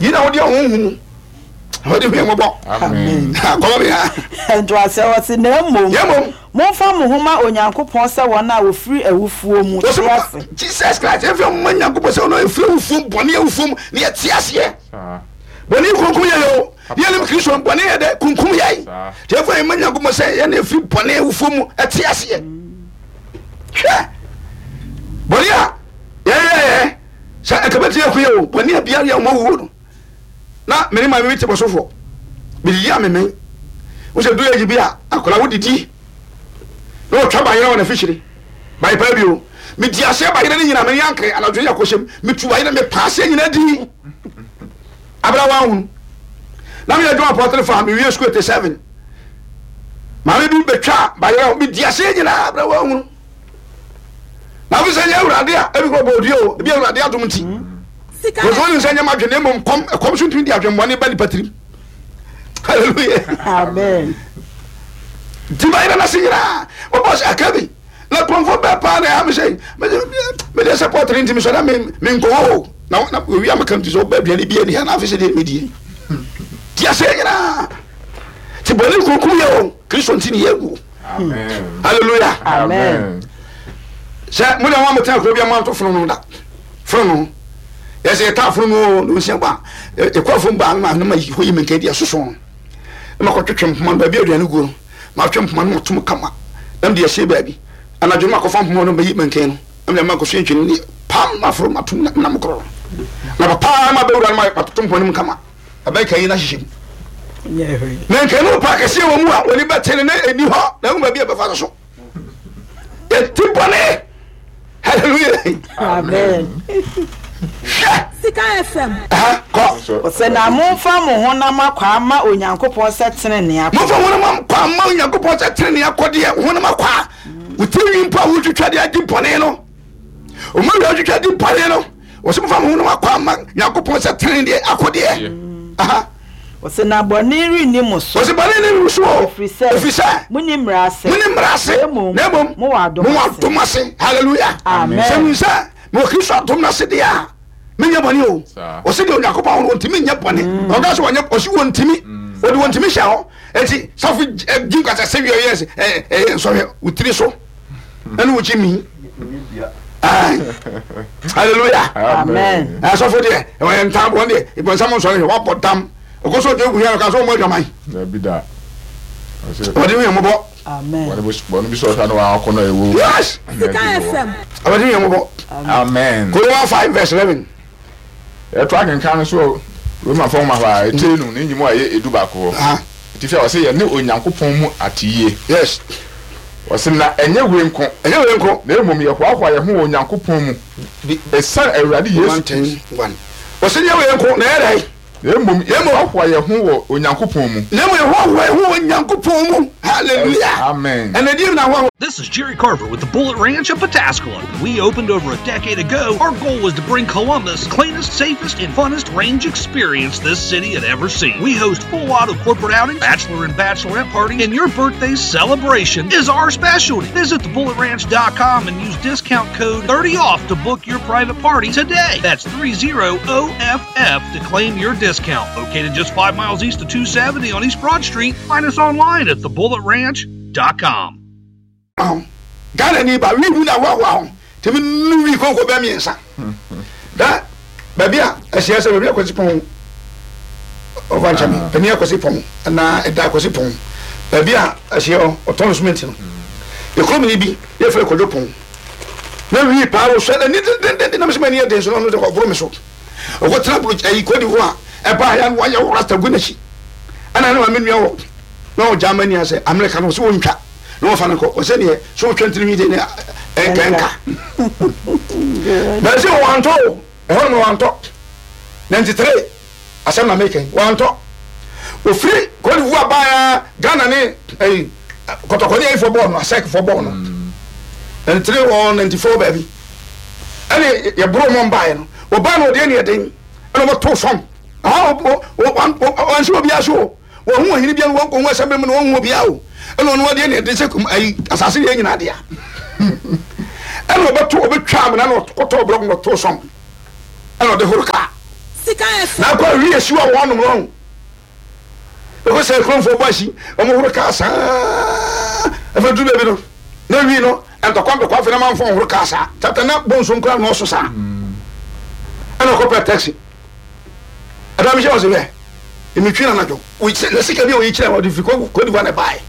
Yi na wode ɔhonhom mu. Awurade hu yɛn mmɔbɔ. Amen. Kɔma me ha. Ntoaseɛ hɔ se, Na mmom, Na mmom, momfa mo ho ma Onyankopɔn sɛ wɔn a wɔfiri awufoɔ mu te ase. Jesus Christ, yɛmfa yɛn ho ma Nyankopɔn sɛ wɔn a wɔfiri awufoɔ mu, bɔne awufoɔ mu, na yɛte aseɛ. Bɔne kunkum yɛn o. Yɛnim Kristo no, bɔne yɛ dɛ kunkum yɛn. Nti yɛmfa yɛn ma Nyankopɔn sɛ yɛn na yɛfiri bɔne awufoɔ mu te aseɛ. Hwɛ, bɔne a yɛyɛɛ sɛ ɛka bɛtumi aku yɛ o, bɔne a biara yɛ wɔn awuo no. Na me ne maame bi te bɔsofo, medidi a memɛn. Wo sɛ duru age bi a akwadaa wodidi na ɔtwa bayerɛ wɔ n'afikyiri bae paa bio. Medi aseɛ bayerɛ no nyinaa, me ne ankere anadwo yɛ akɔhyɛm, metu bayerɛ mepa aseɛ nyinaa di. Abena wanhunu. Na meyɛ adwuma pɔtere fa, mewie sukuu 87. Maame bi bɛtwa bayerɛ, medi aseɛ nyinaa, abena wanhunu. Na afei sɛ nyɛ awurade a, ebi kɔ bɔ odua o, ebi awurade adom nti. Wɔsɛ wɔnim sɛ nyɛ madwene mmom kɔm, ɛkɔm so ntumi di adwemmɔne ba nipa tirim. Hallelujah. Amen. Nti bayerɛ no ase nyinaa, wɔbɔ sɛ aka bi. Na kurɔmfoɔ bɛɛ paa na ɛha me sɛ mede sɛ pɔtere nti mesɔ na menkɔ hɔ o na na owi a meka nti sɛ ɔba aduane bi ani ha na afei sɛ deɛ medie nti asɛ nyinaa nti bɔne kunkum yɛ o Kristo nti ne yɛagu. Hallelujah. Amen. Sɛ mo deɛ mo a motena kuro bi a moanto fono no da fono no yɛsɛ yɛtaa fono no o na ɔsia ba yɛkɔ afom baa no ma no ma hɔ yi menka di ɛsoso no na makɔtwetwe mpoma no baabi aduane guo no Matwe mpoma no mato mu kama na mede asie baabi. Anadwo no makɔfa mpoma no mayi mankan no na mede ama akɔsua ntwene ne pam maforo mato mu na mekorɔ no. Na papa ma bɛwura no matoto mpoma no mu kama. Abɛka yi no ahyehyɛ mu. Mankan no pa kɛseɛ wɔ mu a wɔne bɛte no na ɛni hɔ na ɛhu baabi a bɛfa no so. Yɛte bɔne. Hallelujah. Amen. Hwɛ. Sika FM. Aha, kɔ. Ɔsɛ na momfa mo honam akwaa mma Onyankopɔn sɛ tenenee akɔdeɛ. Momfa honam akwaa mma Onyankopɔn sɛ tenenee akɔdeɛ. Honam akwaa. Wo ti nwi mpo a wotwitwa de adi bɔne no. Ɔma wia wotwitwa di bɔne no. Wɔsɛ momfa mo honam akwaa mma Nyankopɔn sɛ tenenee akɔdeɛ. Aha. Ɔse na bɔne renni mo so. Ɔse bɔne nni mo so o. Ɛfiri sɛ. Ɛfiri sɛ. Monni mmara ase. Monni mmara ase. Na mmom. Na mmom. Mowɔ adom ase. Mowɔ adom ase. Hallelujah. Amen. Sɛ mehu sɛ mewɔ Kristo adom no ase deɛ a, menyɛ bɔne o. Ɔse deɛ Onyankopɔn awo no wɔntumi nyɛ bɔne. Mm. Ɔka sɛ wɔnyɛ ɔse wɔntumi. Mm. Ɔde wɔntumi hyɛ hɔ. Eti safo gyi nkwasa sɛ wiɛ yɛ ɛyɛ nsɔhwɛ wo tiri so. Ɛne wo gyi mi. Hallelujah. Amen. Asɔfo deɛ ɛwɔ ntam wɔn deɛ ìbọnsam nsɔre hwɛ wabɔ dam. Ɔkɔ so ɔdwe wuhia no ka sɛ ɔmɔ adwaman. Dabi da. Ɔde hu yɛn mmɔbɔ. Amen. Bɔne bi sɛ ɔhwɛ no wakɔ no ɛwɔ. Yes. Sika FM. Ɔde hu yɛn mmɔbɔ. Amen. Corinthians 5 verse 11. Yɛto akenkan no so Romafo nwoma hɔ a, etire no ne nyimu a ɛyɛ 11 hɔ. Atifi a ɔse yɛne Onyankopɔn mu ateyie. Yes. Ɔse na ɛnyɛ wei nko. Ɛnyɛ wei nko. Na mmom yɛhoahoa yɛn ho wɔ Onyankopɔn mu esiane Awurade Yesu Kristo. 1:1. Ɔse nyɛ wei nko, na ɛyɛ dɛn? Na mmom yɛhoahoa yɛn ho wɔ Onyankopɔn mu. Na mmom yɛhoahoa yɛn ho wɔ Onyankopɔn mu. Hallelujah. Amen. Ɛnna deɛ na hoahoa. This is Jerry Carver with the Bullet Ranch of Pataskala. When we opened over a decade ago, our goal was to bring Columbus cleanest, safest, and funnest range experience this city had ever seen. We host full auto corporate outings, bachelor and bachelorette parties, and your birthday celebration is our specialty. Visit thebulletranch.com and use discount code 30OFF to book your private party today. That's 30OFF to claim your discount. Located just 5 miles east of 270 on East Broad Street, find us online at thebulletranch.com. ho Ghana ni ba wi hu na hoahoa ho tumi nu wi konko bɛ mmiɛnsa da baabi a ɛhyɛ sɛ baabi a kwasi pɔn ɔfa nkyɛn mi panin akwasi pɔn anaa ɛda akwasi pɔn baabi a ɛhyɛ hɔ ɔtɔn cement no ekurom ni bi yɛfrɛ kwadwo pɔn na wi paa wɔ sɛ n'ani dendenden na mesɛ m'ani yɛ den so na ɔno de ɔboro me so ɔkɔtena buro ayi kɔdi hɔ a ɛbaa ya no wayɛ wo rasta gu n'akyi ɛna ne maame nua wɔ na ɔwɔ Germany asɛ Amerika no ɔsɛ wɔntwa na wɔfa no kɔ ɔsɛ neɛ sɛ wotwa ntiri de ne ɛnka nka bɛsɛ wɔantɔ o ɛhɔ nom wɔantɔ 93 asɛm na meka yi wɔantɔ ofiri Cote d'Ivoire baa Ghana ne ɛyi kɔtɔkɔ ne ayifoɔ bɔɔl no asɛkfoɔ bɔɔl no 93 or 94 baabi ɛne yɛboro mɔ mbaeɛ no wɔbaa no ɔdeɛ ne ɛden ɛna wɔto fam wɔnhyɛ obiara so o Wɔnhu ɔhene biara, wɔnkɔhu asɛm mu na wɔnhu obiara o. Ɛna ɔno adeɛ ne ɛde sɛ kum ayi asase deɛ nyinaa dea. Ɛna ɔbɛto ɔbɛtwa amena na ɔkɔtɔ blɔk na ɔto sɔm. Ɛna ɔde horo kaa. Na akɔ awi esi wɔ wɔn nom no. Ɛkɔ sɛ kuromfoɔ bɔ asi, wɔn horo kaa saa. Afei duru baabi no, na wi no ntɔkwa ntɔkwa afei na manfo nhoro kaa saa. Tata na bonso nkura nɔɔso saa. Ɛna ɔkɔpɛ taxi. Ɛda mehyɛ ɔse hwɛ, metwi no anadwo. Na sika bi a ɔyi kyerɛ ɔde firi Cote d'Ivoire na ɛbaeɛ.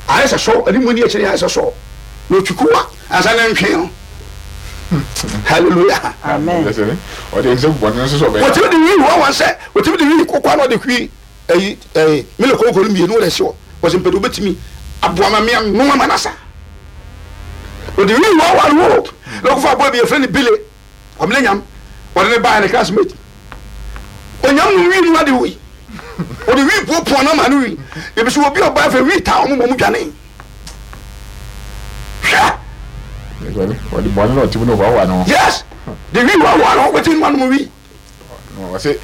Ayɛ sɛ sɔ, ɛne mu ani akyire ayɛ sɛ sɔ. Na ɔtwi kuwa ansa na ntwe no. Hallelujah. Amen. Ɔde nsɛm bɔne nso sɛ ɔbɛyɛ. Wɔtumi de wii hɔ wɔn sɛ wɔtumi de wii kɔkɔɔ na ɔde hwi ɛyi ɛyi milo kɔkɔɔ no mmienu wɔde ɛsi hɔ. Wɔsɛ mpɛtɛ wobɛtumi aboa ma mea noa ma nasa. Wɔde wii hɔ wɔn wo na ɔkɔfa aboa bi yɛfrɛ no bile. Kwabena Nyam, wɔde no baeɛ ne classmate. Onyam no wii no ade wei. Wɔde wii puapua no ama no wii. Ebi so obi ɔbaa fɛ wii taa wɔn ma wɔn dwane. Hwɛ. Wɔde bɔne na ɔte mu no hoahoa ne ho. Yes. De wii hoahoa ne ho, wɔte mu anom wii. Ɔse,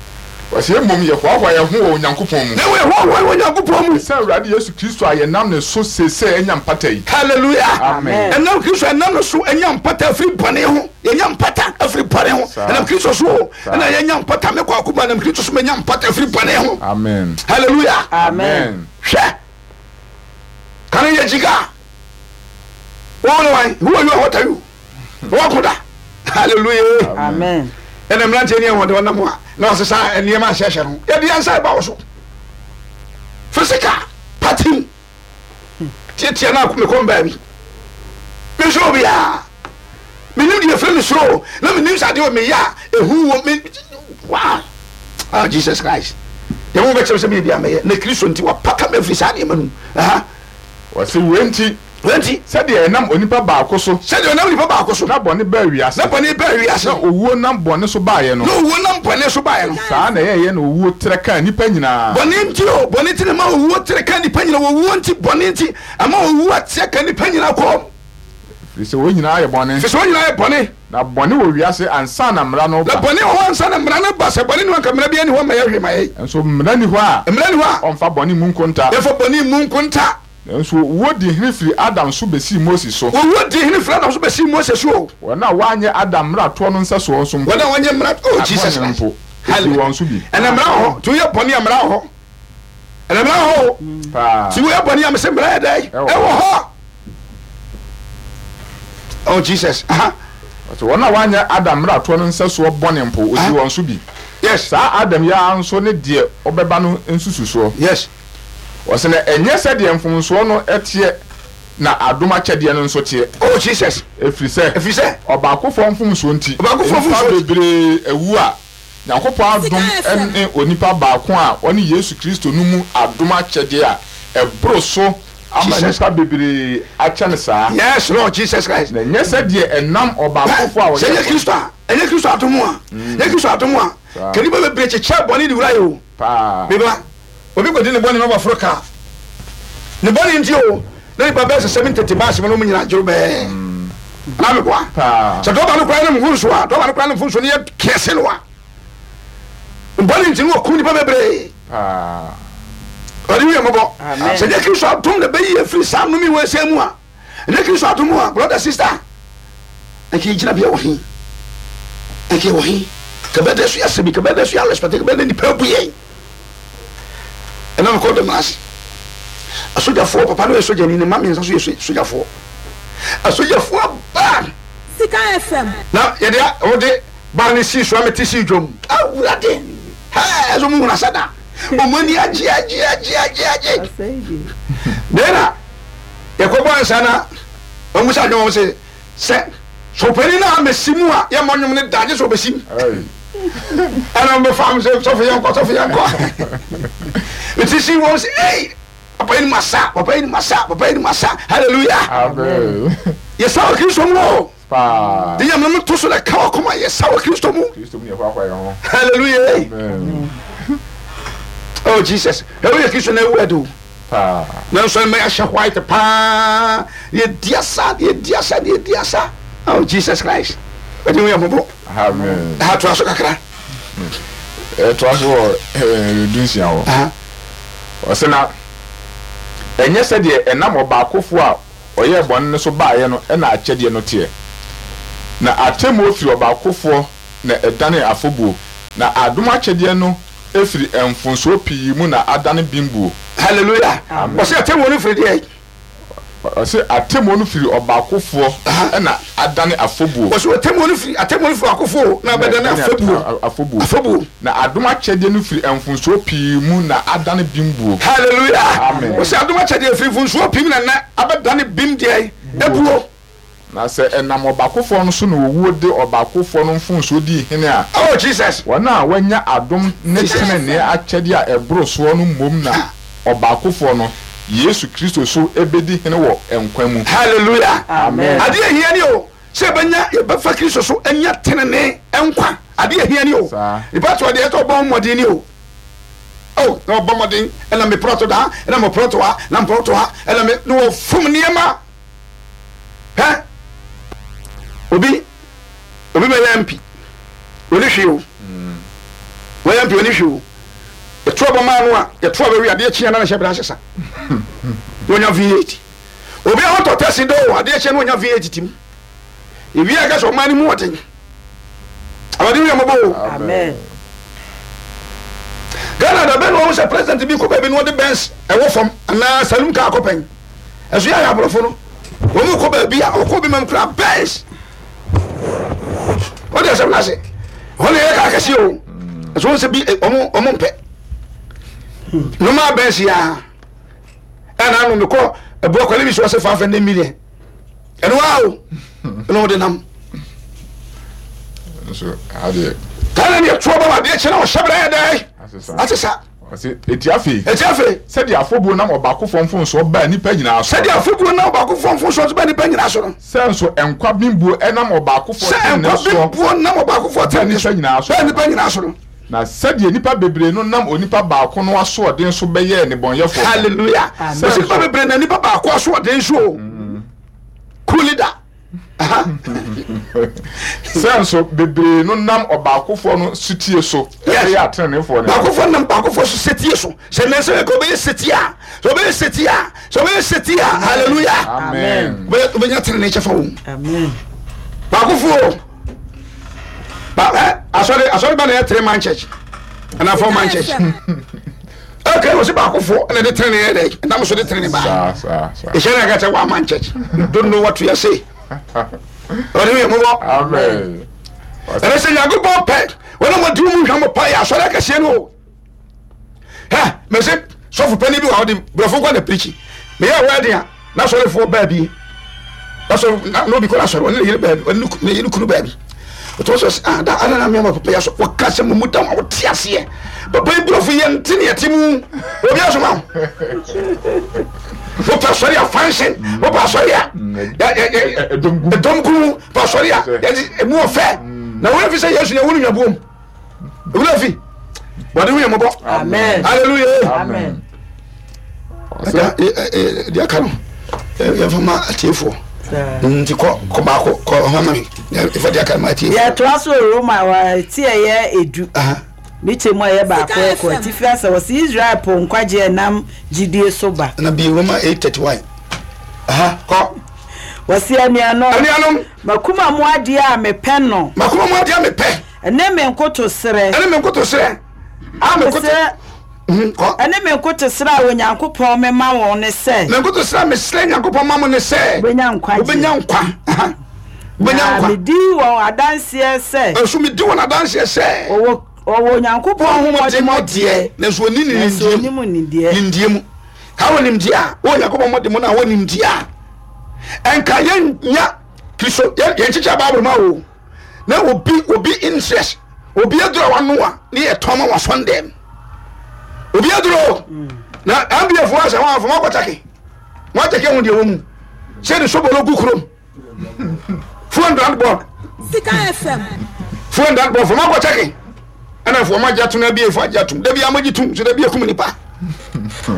ɔse mmom yɛhoahoa yɛn ho wɔ Onyankopɔn mu. Na yɛhoahoa wɔ Onyankopɔn mu. Ɛsiane Awurade Yesu Kristo a yɛnam ne so seesei anya mpata yi. Hallelujah. Amen. Ɛnam Kristo a yɛnam ne so anya mpata afiri bɔne ho. Yɛnya mpata afiri bɔne ho. Ɛnam Kristo so o. Ɛna yɛnya mpata. Me Kwaku ba, ɛnam Kristo so manya mpata afiri bɔne ho. Amen. Hallelujah. Amen. Hwɛ. Kane yɛ gyika. Wo ne wan? Who are you and what are you? Wɔko da. Hallelujah. Amen. Ɛna mmeranteɛ ne ɛwɔ de ɔnam a na ɔsesa nneɛma ahyɛhyɛ no. Yɛde yɛn nsa ɛba wo so. Physical party tiatia na mekɔm baabi. Mensuro obiara. Menim deɛ ɛfrɛ me suro na menim sɛ adeɛ wɔ meyɛ a ɛhu wɔ me. Wow. Ah, Jesus Christ. Deɛ mo bɛkyerɛ sɛ meyɛ bi a mɛyɛ na Kristo nti wapata me afiri saa nneɛma no mu. Aha. Wɔse wei nti. Wei nti. Sɛdeɛ ɛnam onipa baako so. Sɛdeɛ ɔnam onipa baako so. Na bɔne baa wiase. Na bɔne baa wiase. Na owuo nam bɔne so baeɛ no. Na owuo nam bɔne so baeɛ no. Saa na ɛyɛeɛ na owuo trɛ kaa nnipa nyinaa. Bɔne nti o, bɔne nti na ɛma owuo trɛ kaa nnipa nyinaa. Owuo nti, bɔne nti, ama owuo atrɛ ka nnipa nyinaa kɔm. Ɛfiri sɛ wɔn nyinaa ayɛ bɔne. Ɛfiri sɛ wɔn nyinaa ayɛ bɔne. Na bɔne wɔ wiase ansa na mmara no reba. Na bɔne wɔ hɔ ansa na mmara no reba. Sɛ bɔne nni hɔ a, anka mmara biara nni hɔ mma yɛhwee ma yɛn. Nso mmara nni hɔ a. Mmara nni hɔ a. Ɔmfa bɔne mmu nkonta. Yɛmfa bɔne mmu nkonta. Nanso owuo dii hene firii Adam so bɛsii Mose so. Owuo dii hene firii Adam so bɛsii Mose so o. Wɔn a wɔanyɛ Adam mmaratoɔ no nsɛsoɔ nso mpo. Wɔn a wɔanyɛ mmara, oh Jesus Bɔne Christ. mpo, ɛdii wɔn so bi. Ɛnna mmara wɔ hɔ. Nti woyɛ bɔne a, mmara wɔ hɔ. Ɛnna mmara wɔ hɔ o. Paa. Nti woyɛ bɔne a, mese mmara yɛ dɛn? Ɛwɔ hɔ. Ɛwɔ hɔ. Oh Jesus. Aha. Ɔsɛ wɔn a wɔanyɛ Adam mmaratoɔ no nsɛsoɔ bɔne mpo, ɔdii wɔn so bi. Yes. Saa Adam yi ara nso ne deɛ ɔbɛba no nsususoɔ. Yes. Ɔse na ɛnyɛ sɛdeɛ mfomsoɔ no teɛ na adom akyɛdeɛ no nso teɛ. Oh Jesus. Ɛfiri sɛ, Ɛfiri sɛ. ɔbaakofoɔ mfomsoɔ nti, Ɔbaakofoɔ nnipa mfomsoɔ nti. bebree awu a, Nyankopɔn adom ne onipa baako a ɔne Yesu Kristo no mu adom akyɛdeɛ a ɛboro so ama Jesus. nnipa bebree akyɛ no saa. Yes Lord Jesus Christ. Na ɛnyɛ sɛdeɛ ɛnam ɔbaakofoɔ a Sɛ ɔyɛɛ ɛnyɛ bɔne. Kristo a, ɛnyɛ Kristo adom a, ɛnyɛ Kristo adom a, Saa. ka nnipa bebree kyekyɛɛ bɔne de wuraeɛ o. Paa. Me ba, obi kɔdi ne bɔne na waforo kaa. Ne bɔne nti o, na nipa bɛyɛ sɛ 70 te baase mu na wɔn nyinaa dworobɛɛ. Anaa meboa? Paa. Sɛ dɔba no koraa ne mfomso a, dɔba no koraa ne mfomso no yɛ kɛse no a, bɔne nti no wɔkum nipa bebree. Paa. Awurade hu yɛn mmɔbɔ. Amen. Sɛ nyɛ Kristo adom na ɛbɛyi yɛn firi saa nnome wɔ ɛsɛn mu a, ɛnyɛ Kristo adom a, brother, sister, anka yɛn gyinabea wɔ he? Anka yɛwɔ he? Ka bɛda so yɛ asɛm yi, ka bɛda so yɛ respect, ka bɛda nipa abu yɛn. Ɛna mekɔ dɔm ase. Asogyafoɔ, papa no yɛ sogyani, ne mma mmiɛnsa nso yɛ sogyafoɔ. Asogyafoɔ aba. Sika FM. Na yɛde wɔde baa ne sii so a mete sii dwom. Awurade, hɛɛ, ɛsɛ ɔmo hunu asa da. Ɔmo ani agye agye agye agye agye. Dɛn na yɛkɔbɔ ansa na ɔmo sa dwom sɛ sɛ sɔpanin no a mɛsi mu a yɛmmɔ nnwom no da gye sɛ ɔbɛsi mu. Ɛna ɔmo bɛfa mo sɛ sɔfo yɛnkɔ sɔfo yɛnkɔ. Mete sii wɔn sɛ ei papa yi ni mu asa papa yi ni mu asa papa yi ni mu asa hallelujah. Amen. Yɛsa wɔ Kristo mu o. Paa. De nyame no to so na ka wakoma yɛsa wɔ Kristo mu. Kristo mu na yɛhoahoa yɛn ho. Hallelujah. Amen. Oh Jesus. Ɛwɔ yɛ Kristo na ewu ɛde o. Paa. Nanso ɛmɛ yɛahyɛ white paa. Yɛdi asa, yɛdi asa, yɛdi asa. Oh Jesus Christ. Ɛde hu yɛ mmɔbɔ. Amen. Aha toa so kakra. Ɛtoa so wɔ dunsia hɔ. Ɔsɛ na ɛnyɛ sɛdeɛ ɛnam ɔbaakofoɔ a ɔyɛɛ bɔne no so baeɛ no na akyɛdeɛ no teɛ. Na atemmuo firi ɔbaakofoɔ na ɛdanee afɔbuo. Na adom akyɛdeɛ no firi mfomsoɔ pii mu na adane bembuo. Hallelujah. Ɔse atemmuo no firi deɛn? Ɔse atemmuo no firi ɔbaakofoɔ na adane afɔbuo. Ɔse atemmuo no firi atemmuo no firi ɔbaakofoɔ na abɛdane afɔbuo. Afɔbuo. Afɔbuo. Na adom akyɛdeɛ no firi mfomsoɔ pii mu na adane bembuo. Hallelujah. Amen. Ɔse adom akyɛdeɛ firi mfomsoɔ pii mu na nnɛ abɛdane bem deɛn? Ebuo. Na sɛ ɛnam ɔbaakofoɔ no so na owuo de ɔbaakofoɔ no mfomsoɔ dii hene a, Oh Jesus. wɔn a wɔanya adom ne tenenee akyɛdeɛ a ɛboro soɔ no mmom na ɔbaakofoɔ no, Yesu Kristo so bɛdi hene wɔ nkwa mu. Hallelujah. Amen. Adeɛ a ɛhia ni o, sɛ yɛbɛnya, yɛbɛfa Kristo so anya tenenee nkwa. Adeɛ a ɛhia ni o. Saa. Nipa to adeɛ sɛ ɔbɔ ho mmɔden ni o. Oh, na ɔbɔ mmɔden, ɛna me prɔto da, ɛna mo prɔto ha, na mprɔto ha, ɛna me, na wɔfom nneɛma. Hɛ! Obi, obi bɛyɛ MP, ɔni hwee o. Wɔyɛ MP, ɔni hwee o. Yɛto aba maa no a, yɛto aba wie adeɛ kyeɛ na ne hyɛ berɛ asesa. Na ɔnya V8. Obi a ɔtɔ tɛsi dɛ o, adeɛ kyeɛ na ɔnya V8 tim. Ewie a ɛka sɛ ɔman no mu ɔden. Awurade hu yɛn mmɔbɔ o. Amen. Ghana da bɛn na wɔn sɛ president bi kɔ baabi na ɔde Benz ɛwɔ fam anaa saloon car kɔ pɛn. Ɛso yɛ ayɛ aborɔfo no. Wɔn kɔ baabi a ɔkɔ bi mam kura Benz. Wɔde asɛm no ase. Wɔn na yɛ kaa kɛse o. Ɛso wɔn sɛ bi wɔn wɔn mpɛ. Normal Benz ya. Ɛna ano mekɔ ɛboɔ kɔle bi so ɔsɛ 500 million. Ɛno a o. Ɛna ɔde nam. Nso adeɛ. Ghana ni ɛtoɔ bɔ adeɛ kyɛ na ɔhyɛ brɛ yɛ dɛ. Asesa. Ɔse eti afei. Eti afei. Sɛdeɛ afɔbuo nam ɔbaakofoɔ mfomsoɔ baa nnipa nyinaa so. Sɛdeɛ afɔbuo nam ɔbaakofoɔ mfomsoɔ so baa nnipa nyinaa so no. Sɛ nso nkwa bembuo nam ɔbaakofoɔ tenenee soɔ. Sɛ nkwa bembuo nam ɔbaakofoɔ tenenee so baa nnipa nyinaa so no. Na sɛdeɛ nnipa bebree no nam onipa baako no asoɔden so bɛyɛɛ nnebɔneyɛfoɔ no. Hallelujah. Sɛ Ɔse nnipa bebree nam nipa baako asoɔden so o. Cool leader. Sɛ nso bebree no nam ɔbaakofoɔ no setie so bɛyɛ ateneneefoɔ no. Baakofoɔ nam baakofoɔ so setie so. Sɛ nnɛ sɛ ɛka ɔbɛyɛ setie a, sɛ ɔbɛyɛ setie a, sɛ ɔbɛyɛ setie a, hallelujah. Amen. Wobɛnya tenenee kyɛfa wɔ mu. Amen. Baakofoɔ ba ɛ asɔre asɔre ba na yɛ three man church ɛna four man church. Okay, wɔ sɛ baakofoɔ ɛna de tenenee yɛ dɛ ɛnam so de tenenee baa. Saa saa saa. Ɛhyɛ na ɛka sɛ one man church. You don't know what you are saying. Ɔde yɛ mobɔ. Amen. Ɛnɛ sɛ Nyankopɔn pɛ wɔn a wɔdi mu hwɛ mo pa yɛ asɔre akɛseɛ no o. Hɛ mɛsɛ sɔfo panyin bi wɔ hɔ de borɔfo nkɔ na pirikyi. Meyɛ wɛden a na asɔrefoɔ baa bi. Na sɔfo na obi kɔ na asɔre ɔne ne yere baa bi ɔne ne yere kunu baa bi. Ɔtɔ sɔ sɛ ah da ada na mmea ma papa yɛ asɔ wɔka sɛ mo mu da ma wɔte aseɛ. Papa yi borɔfo yɛ nte ne ɛte mu. Obi asoma wo. Wopɛ asɔre a fansin wopɛ asɔre a ɛdɔm gu wopɛ asɔre a ɛmu ɔfɛ na wɔn fi sɛ Yesu na ɛwɔ no nwabuom ewura fi wɔde ho yɛ mɔbɔ hallelujah amen deɛ aka no yɛmfa ma atiefoɔ nti kɔ kɔ baako kɔ ɔma ma me yɛmfa deɛ aka no ma atiefoɔ yɛtoa so Roma ti ɛyɛ edu Ne kyɛ mu a ɛyɛ baako rekɔ atifi asɛ wɔsi Israel po nkwagye a ɛnam gyidie so ba. Na bi Roma 8:31. Aha, kɔ. Wɔsi anuanom. Anuanom. Makoma mu adeɛ a mepɛ no. Makoma mu adeɛ a mepɛ. Ɛne me nkotosrɛ. Ɛne me nkotosrɛ. A me nkoto. Mhm, kɔ. Ɛne me nkotosrɛ a Onyankopɔn mema wɔn ne sɛ. Me nkotosrɛ a mesrɛ Nyankopɔn ma mo ne sɛ. Wobɛnya nkwagye. Wobɛnya nkwa. Aha. Wobɛnya Na nkwa. medi wɔn adanseɛ sɛ. Nso medi wɔn adanseɛ sɛ. Wɔwɔ wɔwɔ Onyankopɔn ho mmɔdemmɔ deɛ, nanso wɔnni ne nanso nimdeɛ wɔnnim mu. nimdeɛ. Nimdeɛ mu. Ka wɔ nimdeɛ a, wɔ Onyankopɔn mmɔdemmɔ no a wɔ nimdeɛ a, ɛnka yɛnnya Kristo yɛn yɛnkyekyɛ Bible ma o. Na obi obi interest obi aduro a wano a ne yɛ tɔn ma wasɔn dɛm. Obi aduro na NBA fo asɛ wɔn afɔ wɔn akɔkyɛke wɔn akyɛke ho deɛ wɔ mu sɛ ne sobolo gu kurom. Phone that board. Sika FM. Phone that board. Fama kɔ checking. Ɛna fo ɔmo agye atum na ebie fo agye atum. Dabi amo gye tum so dabi ekum nipa.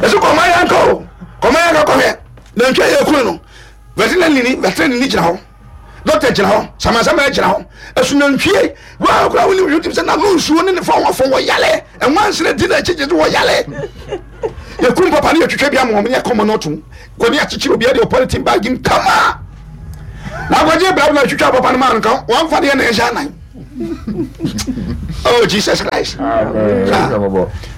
Ɛso kɔma yɛn kɔ o. Kɔma yɛn kɔ kɔhwɛ. Na ntwa yɛ ekunu no. Veterinary ni veterinary ni gyina hɔ. Doctor gyina hɔ. Samasama gyina hɔ. Ɛso nantwie. Wɔn akora wɔn ni wɔn ti sɛ n'ano nsuo ne ne fa wɔn afɔ wɔ yale. Ɛnwansene di n'akyi gye wɔ yale. Yɛkum papa ne yɛtwitwa bi ama wɔn ne yɛkɔmɔ no atum. Kɔne akyekyere obiara deɛ ɔpɔlitin baagi mu kama na akɔgye brabo na atwitwa papa no maa no nka wɔmfa deɛ na ɛhyɛ anan. Oh Jesus Christ. Amen.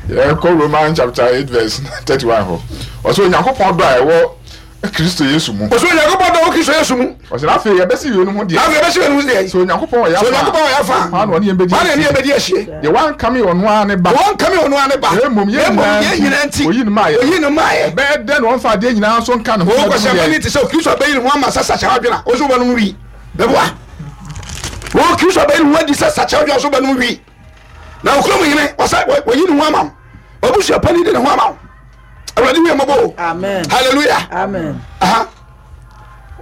Yɛkɔ Romans chapter 8 verse 31 hɔ. Ɔsɛ Onyankopɔn dɔ a ɛwɔ Kristo Yesu mu. Ɔsɛ Onyankopɔn dɔ wɔ Kristo Yesu mu. Ɔsɛ na afei yɛbɛsi yeinom ho deɛ. Na afei yɛbɛsi yeinom ho deɛ. Sɛ Onyankopɔn wɔ yɛn afa. Sɛ Onyankopɔn wɔ yɛn afa. Hwan na ɔne yɛn bɛdi asie. Hwan na ɔne yɛn bɛdi asie. Deɛ wankame ɔno ara ne ba. Deɛ wankame ɔno ara ne ba. Na mmom yɛn nyinaa nti. Oyi no maa yɛ. Oyi no maa yɛ. Ɛbɛyɛ dɛn na ɔmfa adeɛ nyinaa nso nka ne ho. Wɔn kɔsɛ mani te sɛ Kristo abɛyi ne ho ama sɛ sakyɛ adwene a ɔsɛ wɔbɛnom wi. Bɛboa. Wɔn Kristo abɛyi ne ho adi sɛ sakyɛ adwene a ɔsɛ wɔbɛnom wi. Na okurom hene ɔsɛ wɔyi ne ho ama wo. Wabusua panin de ne ho ama wo. Awurade hu yɛn mmɔbɔ o. Amen. Hallelujah. Amen. Aha.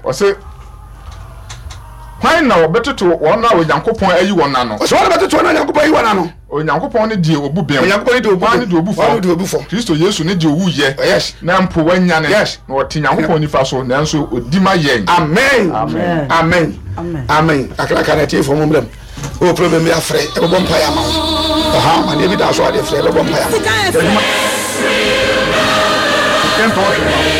Ɔse, Hwan na ɔbɛtoto wɔn a Onyankopɔn ayi wɔn ano? Ɔsɛ wɔn na bɛtoto wɔn a Onyankopɔn ayi wɔn ano. Onyankopɔn ne deɛ obu bem. Onyankopɔn ne deɛ obu bem. Hwan ne deɛ obu fɔ? Hwan ne deɛ obu fɔ? Kristo Yesu ne deɛ owuiɛ. Oh, yes. Na mpo wanyane. Yes. Na ɔte Nyankopɔn nifa so, nanso odi ma yɛn. Amen. Amen. Amen. Amen. Kakraka na atiefoɔ mo mmerɛ mu. Wowɔ problem bi afrɛ, yɛbɛbɔ mpaeɛ ama wo. Ɔhaw amaneɛ bi da so adeɛ frɛ, yɛbɛbɔ mpaeɛ ama wo. Yɛntɔn hwee ma wo.